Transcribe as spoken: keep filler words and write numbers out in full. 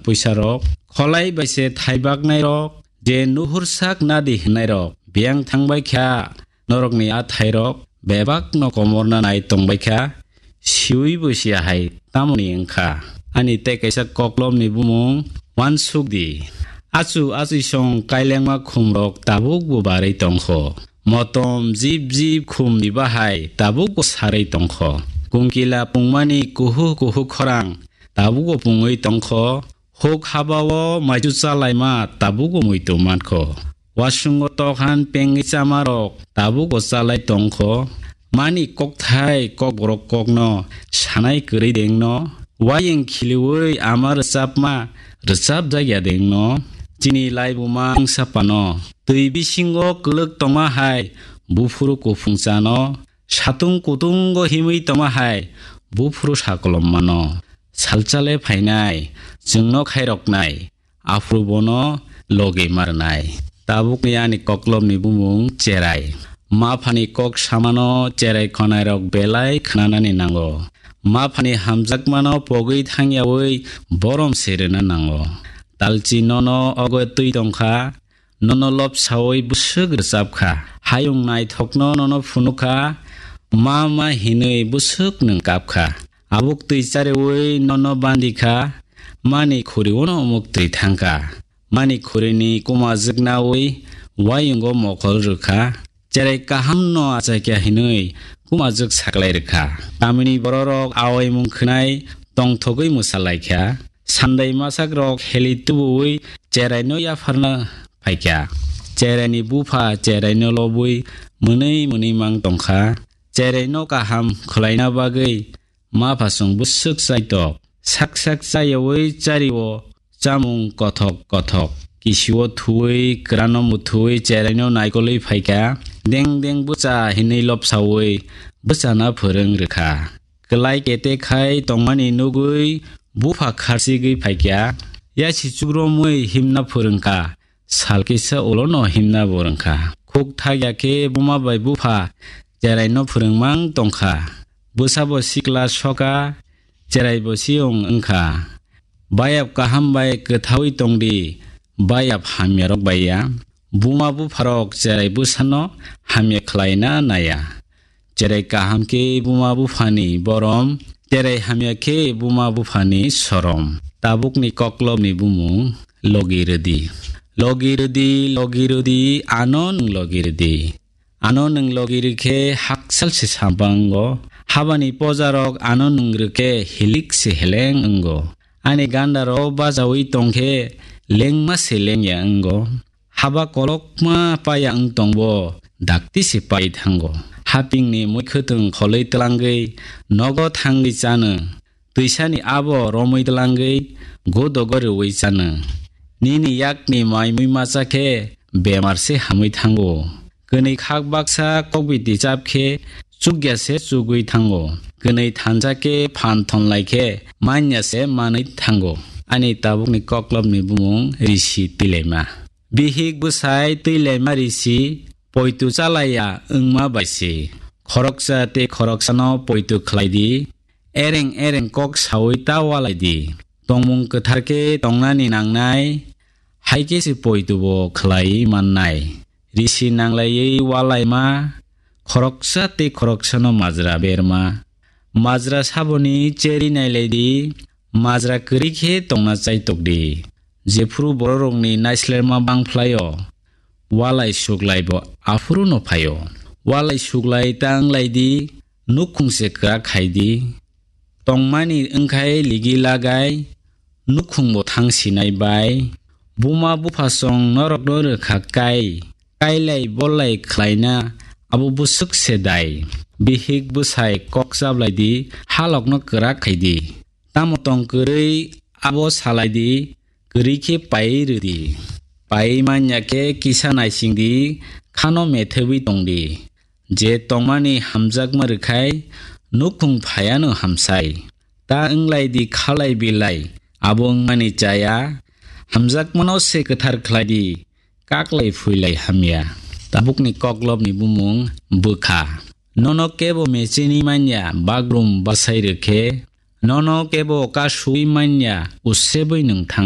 puisarok, kholai bai se thaibaknairok, je nuhursak nadi hwnnairok, biyang thangbai kha, norokni a thairok bebakno komorna nai tongbai kha, siui bo siya hai tamoni wng kha. Ani tei kaisa koklopni bumung uansuk di. Achu achuisong kailengma khumrok tabuk bo barwi tongkho. Motom jip jip khumni bahai tabuk bo sarwi tongkho. Kungkila pungmani kuhu kuhu khorang tabuk bo pungwi tongkho. Huk habao maichu chalaima tabuk bo muitu mankho. Wasungo tokhan pengwi chamarok tabuk bo chalai tongkho. Mani kokthai kokborok kokno sanai kwrwi dengno. Wayeng khiliui ama rwchapma rwchapjakya dengno. Chini laibuma wngsapano twi bisingo kwlwk tongma hai buphuru kuphung chano. Satung kutungo himwi tongma hai buphuru sakolom mano. Salchale phainai chwngno khairoknai. Aphuru bono logi marnai. Tabukni ani koklopni bumung Cherai. Maphani kok samano Cherai khwnairok belai khnanani nango. Maphani hamjakmano pogwi thangyaui borom se rwna nango. Talchi nono ogo twi tongkha, nono lobsaui bwswk rwchapkha. Hayung naithokno nono phunukha, ma ma hinwi bwswk nwng kapkha. Abuk twi chariui nono bandikha, mani khuriuno umuk twi thangkha. Mani khurini kumajwk naui wayungo mokol rwkha. Cherai kahamno achakya hinwi kumajwk saklai rwkha. Tamini bororok awaimung khwnai tongthogwi mwsalaikha. Sandai masakrok heli tubuui Cheraino yapharna phaikha. Cheraini bupha Cheraino lobwi mwnwi mwnwi mang tongkha. Cheraino kaham khwlaina bagwi maphasong bwswk chaitok. Sak sak chayaui chario chamung kothok kothok. Kisio thuui, kwrano muthui Cheraino naikolwi phaikha. Deng deng bwcha hinwi lobsaui bwchana phwrwng rwkha. Kwlai kete khai tongmani nugui bupha kharchigwi phaikha. Yasichuk romwi himna phwrwngkha. Sal kisa ulono himna bo rwngkha. Khuk thakya khe buma bai bupha Cheraino phwrwngmang tongkha. Bwsabo sikla soka, Cheraibo siyong wngkha. Bayap kaham bai kwthaui tongdi, bayap hamyarok bai ya. Buma bupharok Cherai bwsano hamya khlaina naya. Cherai kaham khe buma buphani borom, cherai hamya khe buma buphani sorom. Tabukni koklopni bumung logi rwdi. Logi rwdi, logi rwdi, ano nwng logi rwdi. Ano nwng logi rwkhe haksal se sampang wngo. Habani pojarok ano nwng rwkhe hilik se heleng wngo. Ani gandaro bajaui tongkhe lengma se lengya wngo. Haba kolokma paya wng tongbo, dakti se pai thango. Hapingni muikhwtwng kholwi twlangwi nogo thangwi chano. Twisani abo romwi twlangwi godogo rwui chano. Nini yakni mai mui macha khe bemar se hamwi thango. Kwnwi khak baksa kokbiti chap khe chukya se chugwi thango. Kwnwi thansa khe phan thonlai khe manya se manwi thango. Ani tabukni koklopni bumung Risi Twilaima. Bihik bwsai twi laima risi, poitu chalaiya wngma bai se. Khoroksa tei khoroksano poitu khlai di, ereng ereng kok saui ta walai di. Tongmung kwthar khe tongnani nangnai, hai khe se poitu bo khlai mannai. Risi nanglaiwi walaima, khoroksa tei khoroksano majra berma. Majra saboni cheri nailai di, majra kwrwi khe tongna chaitok di. Jephuru bororokni naislerma bang phlaio, walai suklai bo aphuru no phaio. Walai suklai ta wnglai di, nukhung se kwrak khai di. Tongmani wngkhai ligi lagai, nukhung bo thang sinai bai. Buma buphasong norokno rwkha kai, kailai bolai khlaina abo bwswk se dai. Bihik bwsai kok chablai di, halokno kwrak khai di. Tamo tong kwrwi abo salai di, kwrwi khe paiwi rw di. Paiwi man ya khe kisa naising di, khano methebwi tong di. Je tongmani hamjakma rwkhai nukhung phaiano hamsai. Ta wnglai di khalai bilai, abo wngmani chaya, hamjakmano se kwthar khlai di, kaklai phuilai hamya. Tabukni koklopni bumung bwkha. Nono kebo mechini manya bagrum bwsai rwkhe, nono kebo kasui manya usebwi nwng thang